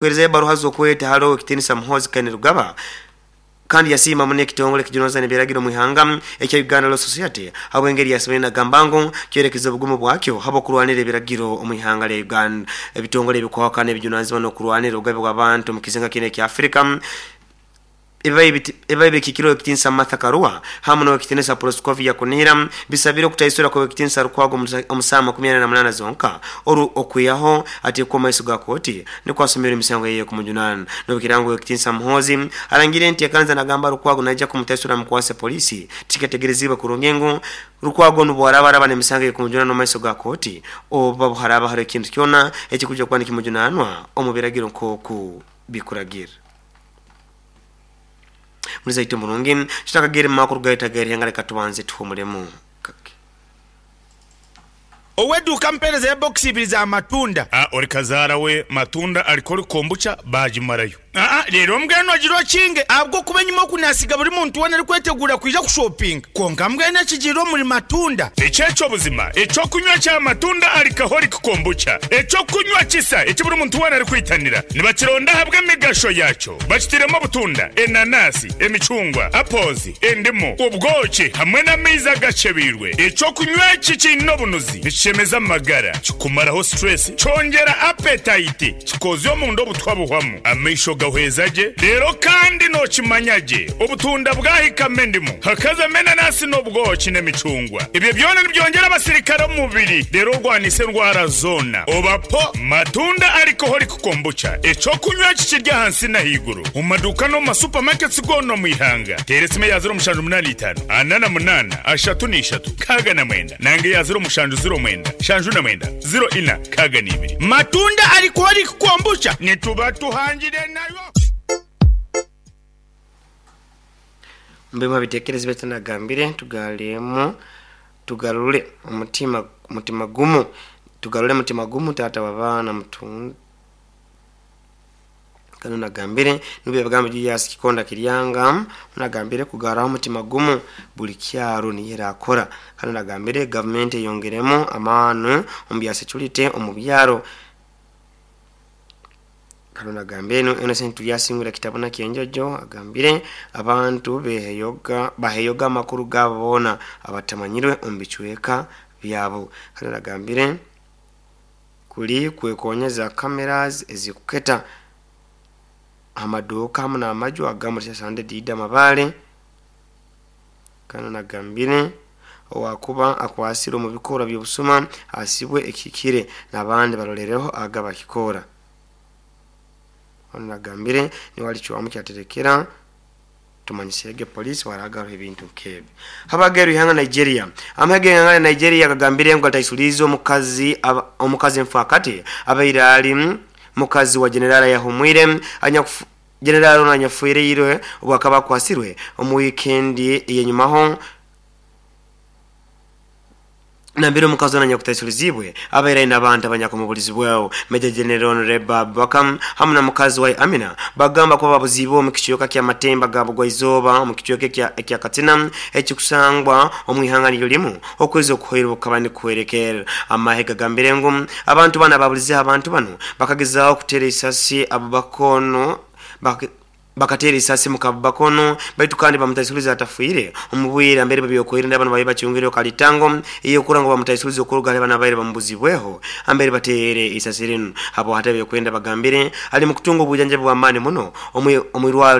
Kuheereza ebbaruha z'okweta hali Owekitinisa Muhoozi Kainerugaba kandi yasiima muno ekitongole ekijunanizibwa n'ebiragiro omu ihanga ekya Uganda Law Society habw'engeri yasoboire nagamba ngu kyolekize obugumu bwakyo habw'okurwanira ebiragiro omu ihanga lya Uganda. Ebitongole ebikwahukana ebijunanizibwa n'okurwanira obugabe bw'abantu omu kizinga kinu ekya Africa Ebibaire bikiikirwe Owekitinisa Martha Karua hamu n'Owekitinisa Proscovia Kunihira bisabire okutaisura kw'Owekitinisa Lukwago omu saaha 48 zonka oru okwihaho ateekwe omu maiso ga kooti nikwo asomerwe emisango eye ekumujunana. Nobukiraaba ngu Owekitinisa Muhoozi arangire enteekaniza nagamba Lukwago naija kumutaisura amukwase poliisi, tikiketegereziibwe kurungi ngu Lukwago onu bwaraaba araba n'emisango eyekumujunana omu maiso ga kooti oba buharaaba haroho ekintu kyona ekikwija kuba nikimujunaanwa omu biragiro nk'oku bikuragira. Muri zaitu omurungi, tutakagaire mu makuru gaitu ag'erihenga leka tubanze tuhumulemu kake. Ow'eduuka ampeereza ebokisi ibiri za matunda. A Ori kazaara we matunda arikori kombucha baagimarayo. Aa Reero mbwenu ogira okinge ahabw'okuba enyima oku naasiga buri muntu weena arikweteguura kwija kushopinga. Kwonka mbwenu ekigiire omuri matunda. Eki eky'obuzima, eky'okunywa kya matunda alcoholic kombucha, eky'okunywa kisa eki buri muntu weena arikwitanira. Nibakironda ahabw'emigasho yaakyo. Bakitairemu obutunda, enanasi, emicungwa, apples, endimu, obwoki hamwe n'amaizi agakyebeirwe. Eky'okunywa eki kiine obunuzi, nikishemeza amagara, kikumaraho stress, kyongyera appetite, kikoozya omunda obutwa buhwamu, amaisho gahweza gye, reero kandi nookimanya gye obutunda bwahikamu endimu, hakazamu enanasi n'obwoki n'emicungwa. Ebyo byona nibyongyera abasirikare omu mubiri reero orwanise endwara zoona. Oba po matunda alcoholic Kombucha, eky'okunywa eki kiri ahansi n'ahaiguru omu maduuka n'omu ma supermarkets goona omu ihanga. Teera esimu eya 0785 48 33 69 nanga eya 0709 79 04 62. Matunda Alcoholic Kombucha nituba tuhangire nayo. Omu bimu ha bitekerezo baitu nagambire tugaremu tugarure omutima mutima gumu tugarure mutima gumu taata w'abaana mutunda Kanu nagambire nubwo ebigambo Julius Kikonda Kiryanga nagambire kugarraho omutima gumu buli kyaro niyo erakora. Kanu nagambire gavumenti eyongeremu amaani omu bya securite omu byaro. Kanu nagambire Innocent Turyasingura Kitabuna Kyenjojo agambire abantu beheyoga baheyoga amakuru gaabo boona abatamanyirwe omu bicweka byabo. Kanu nagambire kuli kwekonyeza cameras ezikuketa amaduuka hamu n'amaju agamu Sande Dida Mabale. Kanu nagambire owakuba akwasire omu bikorwa by'obusuma asibwe ekihikire n'abandi barolereho aga bakikora. Onu nagambire niwe alicwamu kyaterekera tumanyisege polisi waragaruha ebintu nk'ebi. Habageru ihanga Nigeria. Amahege ihanga Nigeria gagambire ngu ataisulize omukazi omukazi mfakati abaire ali mukazi wa generala yahumwire anyakufu generala ono anyafuireirwe obwakaba akwasirwe omu wiikendi eyenyumaho nambere omukazi ono anyakutaisuliziibwe abaire aine abantu abanyakumuburizibweho. Major General Honorable Abubakar hamu na mukazi wa Amina bagamba kuba babuziibwe omu kicweka kya Matemba ga Bugwaizooba omu kicweka ekya Katsina ekikusangwa omu ihanga niryo limu okwezi okuhoire obukaba nikuhwerekerra. Amahe gagambire ngu abantu banu ababulizeho abantu banu bakagezaaho kuteera isasi Abubakar onu bakateera isasi muka Abubakar onu baitu kandi bamutaisuliza atafiire omu bwire nambere b'ebyokwerinda banu babaire bacungireho kalitango ey'okurora ngu bamutaisuliza okuruga hali banu abaire bamubuzibweho ambere bateere isasi rinu. Habwahati ebyokwerinda bagambire ali mu kutunga obwijanjabi bw'amaani muno omu irwarro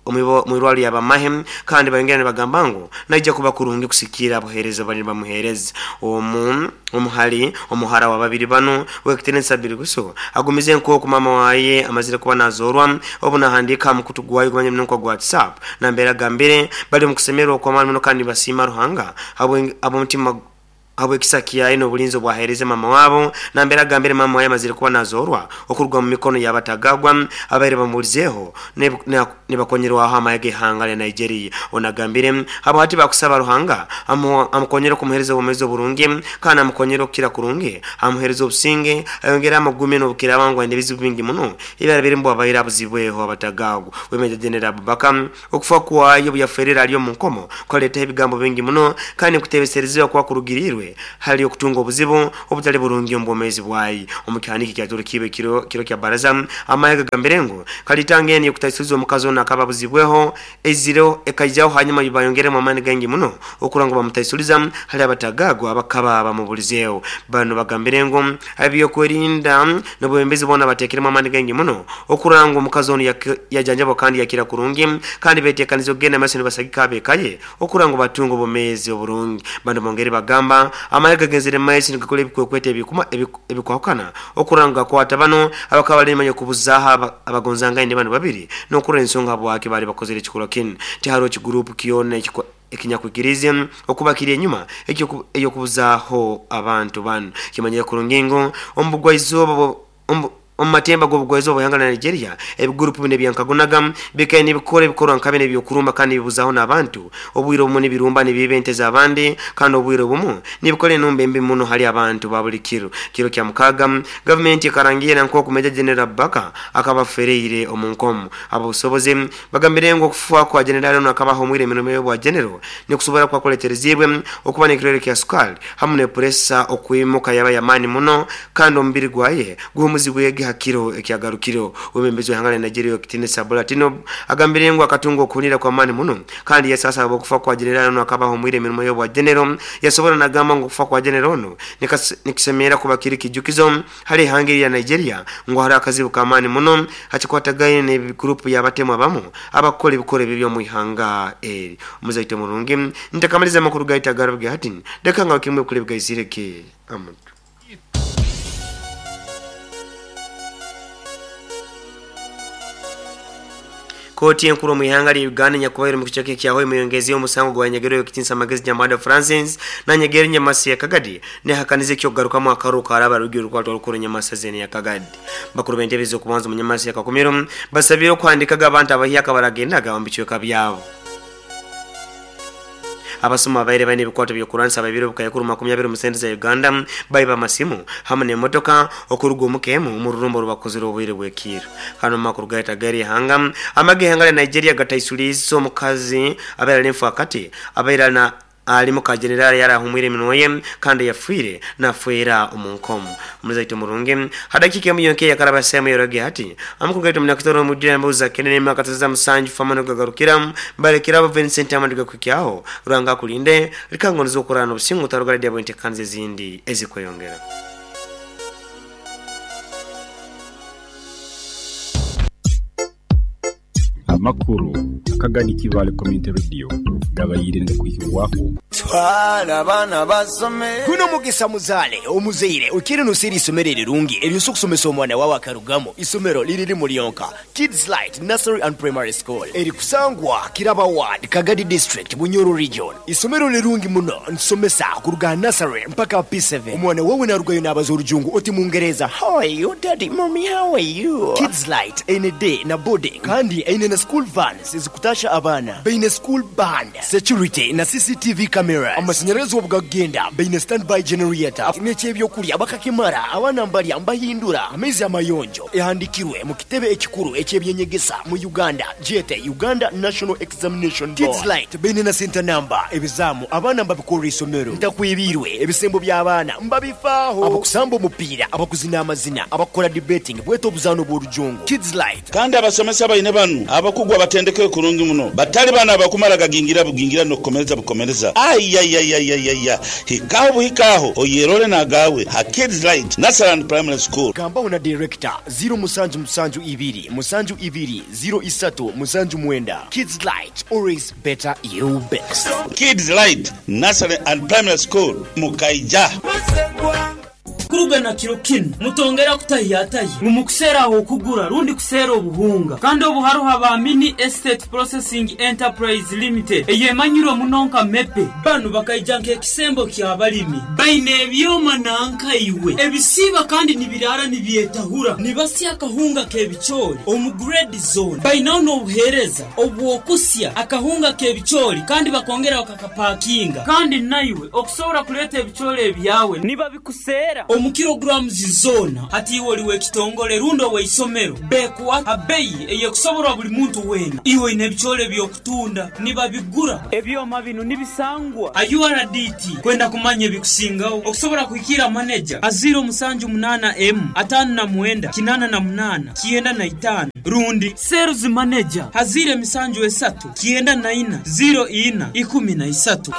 omu irwarro ly'abamahe kandi bayongera nibagamba ngu naija kuba kurungi kusikira abuheereza bali nibamuheereza. Omu omuhali omuhara wa babiri banu Owekitinisa Birigusu agumize nk'oku maama waye amazire kuba nazoorwa obu nahandiika aha mukutu gwayo gumanyire muno nka gwa WhatsApp nambere agambire bali omu kusemererwa okw'amaani muno kandi nibasiima Ruhanga habw'omutima habw'ekisa kyaye n'obulinzi obwaheereze maama wabo nambere agambire maama waye amazire kuba nazoorwa okuruga mu mikono y'abatagagwa abaire bamubulizeeho nibakonyerwaho amahe g'ihanga lya Nigeria. Onu agambire habwahati bakusaba Ruhanga amukonyere okumuheereza obwomeezi oburungi kandi amukonyere okukira kurungi amuheereze obusinge ayongere amugumye n'obukiraaba ngu aine ebizibu bingi muno ebyarabiremu bwabaire abuzibweho abatagagwa. We Major General Abubakar okufa kwayo obu yaferire ali omu nkomo kwaleetaho ebigambo bingi muno kandi nikutebeserezebwa kuba kurugirirwe Arindirwe hali okutunga obuzibu obutali burungi omu bwomeezi bwaye. Omu kihandiiko ekyaturukiibwe kiro kya baraza, amahe gagambire ngu kalitanga enu ey'okutaisuliza omukazi onu akaba abuzibweho eizire ekaijaho hanyuma bayongeremu amaani gaingi muno okurora ngu bamutaisuliza hali abatagaagwa abakaba bamubulizeeho. Banu bagambire ngu ab'ebyokwerinda n'obwebembezi boona bateekeremu amaani gaingi muno okurora ngu omukazi onu yajanjabwa kandi yakira kurungi kandi beteekanize okugenda maiso nibasagika ab'eka ye okurora ngu batunga obwomeezi oburungi. Banu bongeri bagamba amahe gagenzere maiso nigakora ebikwekweto ebikwahukana okurora ngu gakwata banu abakaba bali enyuma y'okubuzaaho abagonzangaine banu babiri n'okurora ensonga habwaki baali bakozere ekikorwa kinu. Tiharoho kiguruupu kyona ekinyakwikiriize okuba kiri enyuma ey'okubuzaaho abantu banu. Kimanyire kurungi ngu omu bugwaizooba omu matemba g'obugwaizooba bw'ihanga lya Nigeria, ebiguruupu binu ebyankagunaga bikaire nibikora ebikorwa nka binu eby'okurumba kandi nibibuzaaho n'abantu. Obwire obumu nibirumba nibiiba ente z'abandi kandi obwire obumu nibikora enumba embi muno hali abantu ba buli kiro. Kiro kya mukaaga, gavumenti ekarangira nk'oku Major General Abubakar akaba afereire omu nkomo. Ab'obusobozi bagambire ngu okufa kwa Jenerali onu akaba ahumwire emirimo y'obwa Genero nikusobora kuba kuletereziibwe okuba n'ekirwaire kya sukaali hamu n'epuresa okwimuka yaba y'amaani muno kandi omubiri gwaye guhumuzibwege ha kiro ekyagarukireho. Omwebembezi w'ihanga lya Nigeria Ow'ekitiinisa Bola Tinubu agambire ngu akatunga okuhunira kw'amaani muno kandi yasaasa habw'okufa kwa Jenerali onu akaba ahumwire emirimo y'obwa Genero. Yasobora nagamba ngu okufa kwa Genero onu nikisemerra kuba kiri kijukizo hali ihanga erya Nigeria ngu haroho akazibu k'amaani muno hakikwatagaine n'ebigurupu by'abatemu abamu abakukora ebikorwa ebibi omu ihanga eri. Omuzaito murungi, ntakamaliza amakuru gaitu agarabwe hati, leka ngarukiremu ebikuru ebigaizirege amatu. Kooti enkuru omu ihanga lya Uganda enyakubaire omu kicweka ekya Hoima eyongezeyo omusango gwa Nyegerwa ow'ekitiinisa Magezi Nyamwada Francis na Nyegerwa Nyamasi ya Kagadi nehakaniza eky'okugarukamu akaruru karaba rugi orukwatwa rukuru Nyamasi Zeni ya Kagadi. Bakuru b'entebe ez'okubanza omu Nyamasi ya Kakumiro basabire okuhandikaga abantu abahyaka abaragendaga omu bicweka byabo. Abasuma abaire baine ebikwato by'okurwanisa abaibire obukaikuru 20 omu sente za Uganda baiba amasimu hamu n'emotoka okuruga omuka emu omu rurumba orubakozire obwire bw'ekiiro. Kandi omu makuru gaitu ag'eri ihanga, amagye g'eihanga lya Nigeria gataisuliize omukazi abaire ali enfaakati abaire ali na Ali muka Jenerali yali ahumwire eminwa ye kandi yafiire nafeera omu nkomo. Omuzaito murungi. Ha dakiika emu yonka eyakaraba saaha emu eyoroge hati, amakuru gaitu omunyakitore omwijwire embuzi za Kennedy emyaka za musanju famu nigugagarukira balekere abo Vincent Amadi gakuhikyaho. Ruhanga akulinde, leka ngonize okurara nobusinge otarugara di habwentekaniza ezindi ezikweyongera. Amakuru akagadi Kibaale Community Radio gabaire nigakwihibwaho. Twala abaana basome. Guno mugisa muzaale omuzaire oikaire noseera isomero erirungi eryosobola okusomesa omwana wawe akarugamu. Isomero liri limu lyonka, Kids Light Nursery and Primary School erikusangwa Kiraba Ward, Kagadi District, Bunyoro Region. Isomero lirungi muno, nitusomesa kuruga aha nursery mpaka aha P7. Omwana wawe narugayo nabaza orujungu oti mungereza, How are you daddy, mummy how are you? Kids Light eine day na boarding kandi eine na school vans ezikutasha abaana. Baine school band, security na CCTV cameras. Amasanyarazi obu gakugenda baine standby generator. N'eky'ebyokulya bakakimara, abaana mbalya mbahindura amaizi amayonjo. Ehandikirwe mu kitebe ekikuru eky'ebyenyegesa mu Uganda gyete Uganda National Examination Board. Kids Light baine na senta namba, ebizaamu abaana mbabikorra isomero. Ntakwibiirwe, ebisembo by'abaana mbabifaaho. Abakusamba omupiira, abakuzina amazina, abakukora debating bwete obuzaano bw'orujungu. Kids Light. Kandi abasomesa baine banu abakugu abatendekere kurungi muno, batali banu abakumara gagingira bugingira n'okukomereza bukomereza. Aiaiaiaiaia! Hikaho buhika aho oyerole n'agaawe ha Kids Light Nursery and Primary School. Gambaho na Director, ziro musanju musanju ibiri musanju ibiri ziro isatu musanju mwenda. Kids Light, always better you best. Kids Light Nursery and Primary School, Mukaija. Kuruga na kiro kinu, mutongera kutahiyatahya ngu mukuseera ah'okugura rundi kuseera obuhunga. Kandi obu haroho aba Mini Estate Processing Enterprise Limited eyemanyirwe muno nka MEPE. Banu bakaija nk'ekisembo ky'abalimi. Baine ebyoma nanka iwe ebisiiba kandi nibiraara nibyetahura. Nibasya akahunga k'ebicoori omu grade zoona. Bainaho n'obuheereza obw'okusya akahunga k'ebicoori kandi bakongera bakakapakinga. Kandi naiwe okusobora kuleeta ebicoori ebyawe nibabikuseera. Omu kilograms zoona hati iwe oli w'ekitongole rundi ow'eisomero bekuwa ha beyi eyekusoborwa buli muntu weena. Iwe oine ebicoole by'okutunda nibabigura. Ebyoma binu nibisangwa ha URDT. Kwenda kumanya ebikusingaho okusobora kuhikira maneja ha 078 emu 59 88 95 rundi sales manager ha 073 94 04 13.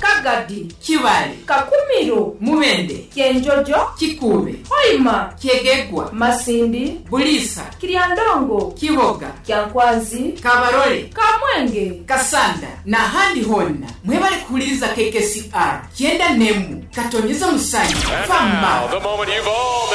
Kagadi, Kibale, Kakumiro, Mubende, Kyenjojo, Kikuube, Hoima, Kyegegwa, Masindi, Bulisa, Kiryandongo, Kiboga, Kyankwanzi, Kabarole, Kamwenge, Kasanda n'ahandi honna mwebale kuhuliriza KKCR 91 katonyeza musanyu fama.